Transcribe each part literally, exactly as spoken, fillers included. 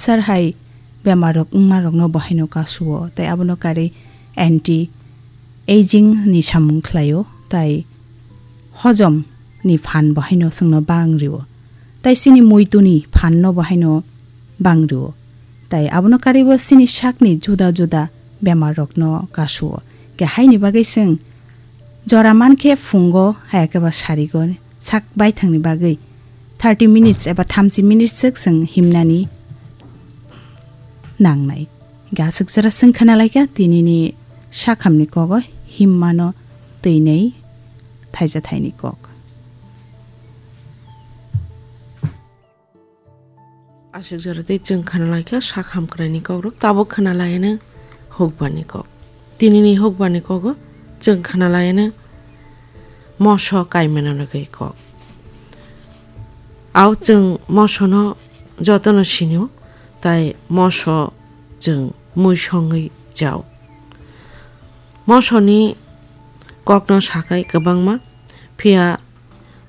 cancer hai bemar rok wngma rokno bo haino kasuo, tei abono karwi anti aging ni samung khlaio, tei hojom ni phan bo haino chwngno bang rio, tei chini muitu ni phan no bo haino bang rio, tei abono karwi bo chini sak ni juda juda bemar rok no kasuo. Khe haini bagwi chwng jora man khe phungo hai khe ba sarigo sak baithang ni bagwi thirty minutes eba thamchi minutes swk chwng himnani nangnai. Gaswk jora chwng khna lai kha tini ni sakhamni kogo himmano twi nei thaija thaini kok. Aswk jora tei chwng khna lai kha sakham kwraini kok rok, tabuk khna lai ano hukbani kok. Tini ni hukbani kogo chwng khna lai ano moso kaimano nogwi kok. Au chwng mosono jotono sinio, tai moso chwng mui songwi chao. Mosoni kokno sakai kwbangma, phiya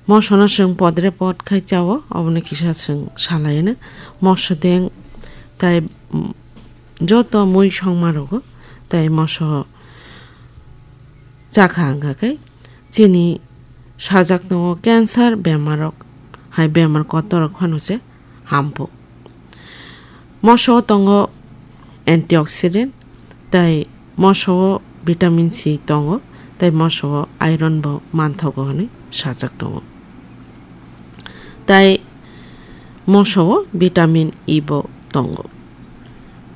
mosono chwng podre pod khai chao, obono kisa chwng salai ano moso deng tai, mm, joto mui songma rogo tai moso chakha wngkha khe chini sajak tongo cancer bemarok hai bemar kotorrok phano se hampo. Moso tongo antioxidant tei moso vitamin C tongo tei moso iron bo manthogo hwnwi sajak tongo. Tei moso vitamin E bo tongo.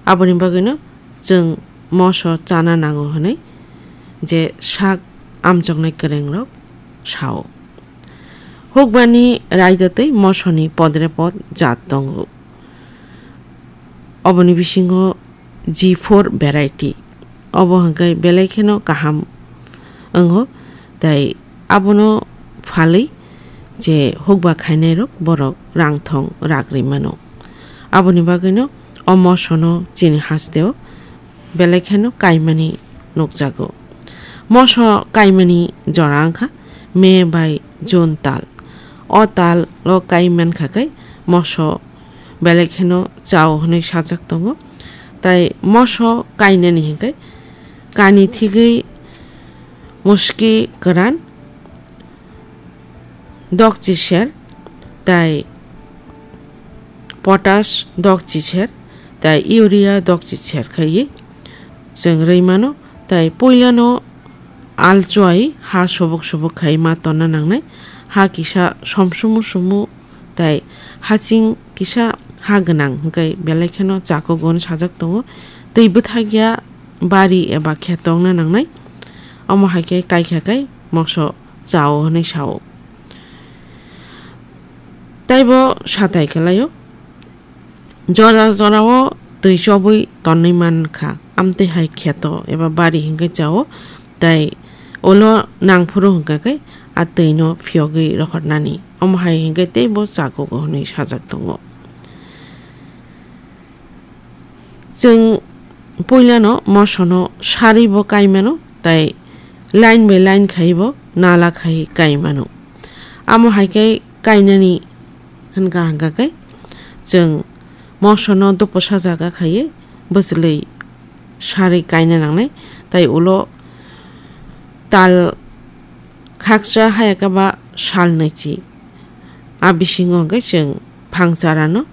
Aboni bagwino chwng moso chana nango hwnwi je sak amchoknai kwrwngrok sao. Hukbani raida tei mosoni podre pod jat tongo. Oboni bisingo G four variety. Obo hwnkhe belai kheno kaham wngo, tei abono phalwi je hukba khainairok borok rang thong rak rwi mano. Aboni bagwino o mosono chini hasteo belai kheno kaimani nukjago. Moso kaimani jora wngkha May bai June tal. O tal o kai mankha khe moso belai kheno chao hwnwi sajak tongo. Tai moso kainani hinkhe kani thigwi muski kwran dokchi ser, tai potash dokchi ser, tai urea dokchi ser khaiwi chwng rwi mano. Tai puilano alchuai ha subuk subuk khai ma tonna nangnai. Ha kisa somsumu sumu tai haching kisa ha gwnang hwnkhe belai kheno chakugwi sajak tongo. Twi bwthakya bari eba kheto wngna nangnai. Omo hai khe kaikha khe moso chao hwnwi sao. Taibo satai khlaio. Jora jorao twi chobwi tonwi mankha. Amtwi hai kheto eba bari hinkhe chao. Tai ulo nangphuru hinkha khe a twino phiyogwi rohornani. Omo hai hinkhe teibo chakugo hwnwi sajak tongo. Chwng puilano mosono saribo kaimano, tai line by line khaibo nala khai kaimano. Amo hai khe kainani hwnka hwnka khe chwng mosono doposa jaga khaiwi bwchwlwi sarwi kaina nangnai, tai ulo tal khaksa hayakhe ba sal naichi. A bisingo hwnkhe chwng phangcharano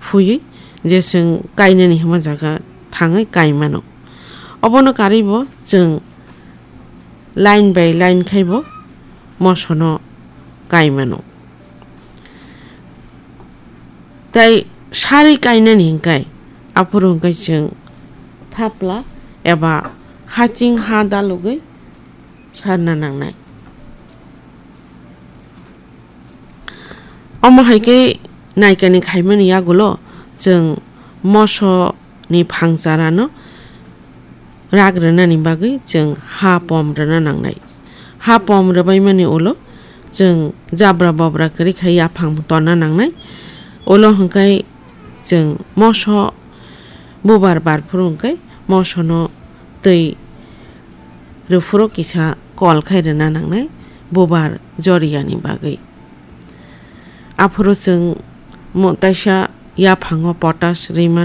phuiwi je chwng kainani hwnma jaga thangwi kaimano. Obono karwibo chwng line by line khaibo mosono kaimano. Tai sarwi kainani hinkhe aphuru hinkhe chwng thapla eba haching ha dalugwi sarna nangnai. Omo hai khe naikani khaimani yagulo chwng moso ni phangcharano rak rwnani bagwi chwng ha pom rwna nangnai. Ha pom rwbaimani ulo chwng jabra bobra kwrwi khai yaphang tonna nangnai. Ulo hwnkhe chwng moso bubar barphuru hwnkhe mosono twi rwphuru kisa kol khai rwna nangnai bubar joriyani bagwi. Aphuru chwng mo-, kaisa yaphango potash rwima.